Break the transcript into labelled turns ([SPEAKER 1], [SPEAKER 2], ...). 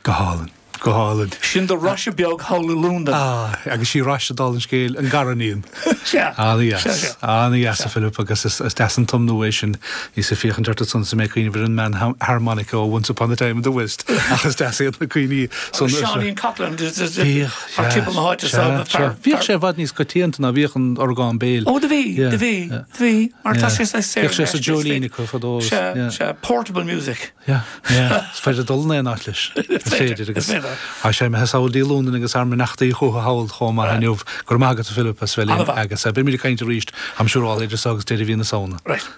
[SPEAKER 1] Go hálainn. Go hálainn.
[SPEAKER 2] Sin do raidhse beag thall i Londain.
[SPEAKER 1] Ah, agus sí raidhse dála an scéil, an gariníon.
[SPEAKER 2] Sea.
[SPEAKER 1] Ana-dheas. Ana-dheas, a Philip, agus is deas an tiomnú é sin. Bhíos ag féachaint ort ansan is mé ag cuimhneamh ar an mbean harmonica ó Once Upon a Time in the West, ach is deas iad na cuimhní
[SPEAKER 2] san. Agus Seáinín Coughlan, Bhíodh, thar timpeall na háite
[SPEAKER 1] so, fear. Bhíodh sé i bhfad níos coitianta ná bhíodh an orgán béil.
[SPEAKER 2] Ó, do bhí, do bhí, do bhí, mar tá sé saghas
[SPEAKER 1] saor. Bhíodh sé sa dreoilín acu fadó.
[SPEAKER 2] Sea, sea, portable music.
[SPEAKER 1] Yeah, yeah. Is féidir dul in aon áit leis. Is féidir agus tá sé imithe sall dtí Londain agus ár mbeannachtaí chucu thall chomh maith inniu. Go raibh maith agat a Philip as bheith linn agus beimid ag caint arís, I'm sure, idir seo agus deireadh mhí na Samhna.
[SPEAKER 2] Right.